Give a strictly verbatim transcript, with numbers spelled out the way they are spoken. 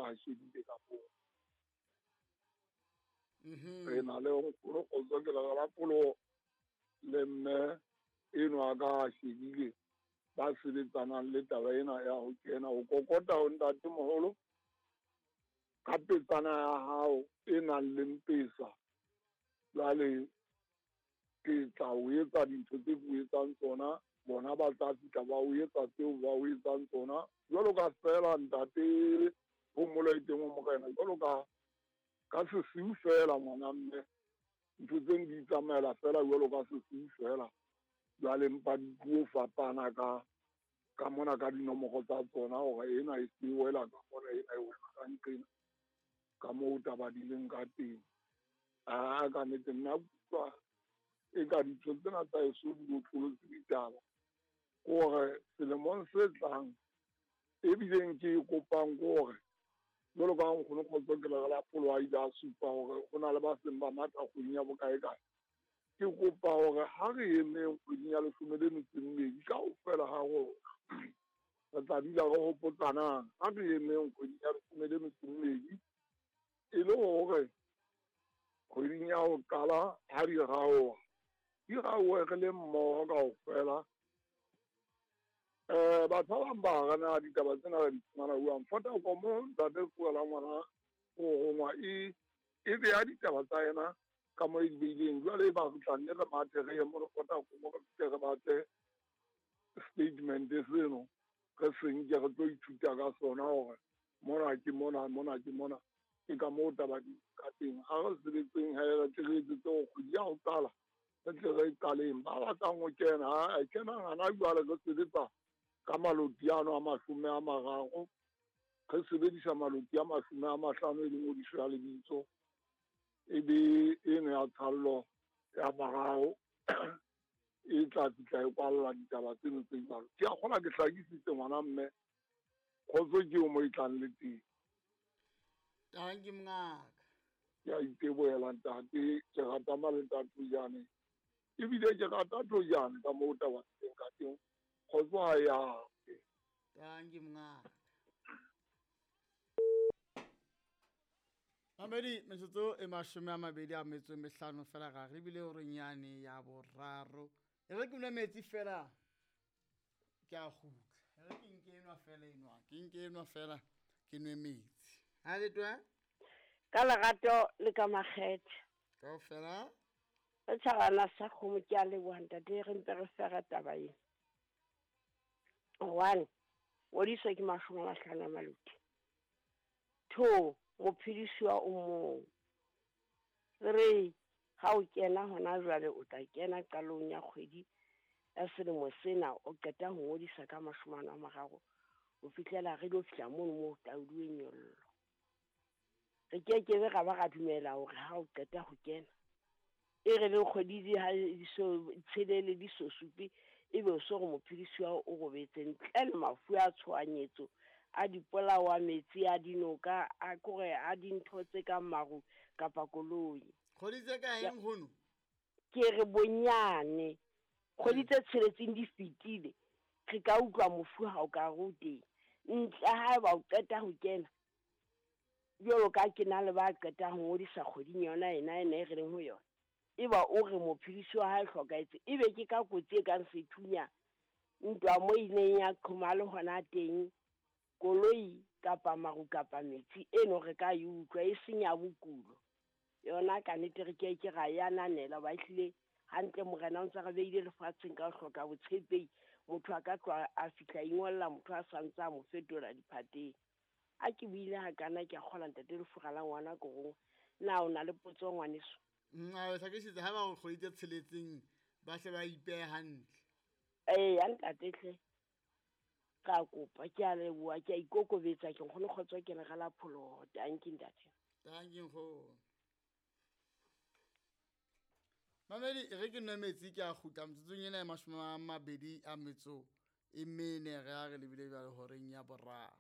a shebile ka moo. Re na le nkgono Kgotso ke le la Pholoho le mme eno a ka shebile ba sebetsanang le taba ena ya ho kena ho kokota ho ntatemoholo ka petsana ya hao e nang le mpesa. Jwale ke tla o etsa dintho tse ke o etsang tsona, bona ba tla fihla ba o etsa tseo ba o etsang tsona. Jwalo ka feela ntate Phomolo e teng ho morena, jwalo ka ka sesiu feela ngwana mme, ntho tse di tsamaela feela jwalo ka sesiu feela. Jwale mpa di tlo fapana ka ka mona ka dinomoro tsa tsona hore ena e se wela ka mona, ena e wela ka nqena, ka moo taba di leng ka teng. Ah, ka nnete nna utlwa e ka dintho tsena tsa heso di botlolotse ditaba. Ke hore selemong se tlang ebileng ke e kopang ke hore jwalo ka nkgono Kgotso ke le la Pholoho a ile a supa hore ho na le ba seng ba matha kgweding ya bokae kae. Ke kopa hore ha re emeng kgweding ya leshome le metso e mmedi kaofela ha rona re tla dula re hopotsanang. Ha re emeng kgweding ya leshome le metso e mmedi e le hore kgweding ya ho qala ha di raoha, di raohe re le mmoho kaofela. Eh, batho ba bang ba re na ditaba tsena re di fumana jwang? Vodacom ntate Tsoela ngwana o rongwa e e beha ditaba tsa yena ka moo e di beileng. Jwale e ba re tla nne re mathe re ye mo Vodacom re fihle re batle statement seno re se nke re tlo ithuta ka sona hore mona ke mona, mona ke mona. Ke ka moo taba di ka teng. Ha re sebetseng he, re tle re etsetse hore kgwedi ya ho qala re tle re qaleng. Ba batlang ho kena, ha kenang hana jwale re sebetsa ka maloti ano a mashome a mararo, re sebedisa maloti a mashome a mahlano e leng ngodiso ya lebitso, e be eno ya tshallo ya mararo e tla fihla e kwalla ditaba tseno tse jwalo. Ke a kgolwa ke hlakisitse ngwana mme, kgotso ke eo mo e tlang le teng. Tanki mongaka. Ke a itebohela ntate, ke rata Malenta Thojane. Ebile ke rata Thojane ka moo taba teng ka teng. Kgotso ha ya. Tanki mongaka. Mamedi, metsotso e mashome a mabedi a metso e mehlano fela ga re bile hore nyane ya boraro. E re ke nwe metsi fela ke a kgutla. E re ke nke enwa fela enwa, ke nke enwa fela ke nwe metsi. Ha le twa? Ka lerato le ka makgethe. Kaofela? Re tshwarana sa kgomo ke a leboha ntate, re mpe re fera taba ena. One, ngodiso ke mashome a mahlano a maloti. Two, mophedisuwa o mong. Three, ha o kena hona jwale o tla kena qalong ya kgwedi ya selemo sena, o qeta ho ngodisa ka mashome a mararo ho fihlela re lo fihla mono moo taoluweng nyollo. Re kekebe ra ba ra dumela hore ha o qeta ho kena e re le kgwedi di ha di so tshelele di so supe, ebe o so re mophedisuwa o robetse ntle le mafu a tshohanyetso a dipolao, a metsi, a dinoka, a kore a dintho tse kang maru kapa koloi. Kgwedi tse kae nkgono? Ke re bonyane kgwedi tse tsheletseng di fetile, re ka utlwa mofu ha o ka re o teng. Ntle haeba o qeta ho kena, jwalo ka ke na le ba qetang ho ngodisa kgweding yona ena ena e re leng ho yona, eba o re mophedisi wa hae hlokahetse, ebe ke ka kotsi e kang sethunya, ntwa mo ileng ya qhoma le hona teng, koloi kapa maru kapa metsi eno re ka e utlwa e seng ya bokulo. Yona ka nnete re ke ke ra e ananela, ba ehlile hantle morena o ntse re beile lefatsheng ka ho hloka botshepehi. Motho a ka tloha a fihla ingolla motho a sa ntse a mo fetola diphateng. A ke buile hakana ke a kgola ntate Lefura la ngwana korong. Na o na le potso ngwaneso? Mm, a hlakisitse ha ba o kgwedi tse tsheletseng ba hle ba ipehe hantle. Ee, ya ntate hle. Ka kopa, ke a leboha, ke a ikokobetsa, ke nkgono Kgotso ke le la Pholoho. Tanki ntate. Tanki nkgono. Mamedi, re ke nwe metsi ke a kgutla metsotsong ena ya mashome a mabedi a metso e mene re a re lebile jwale horeng ya boraro.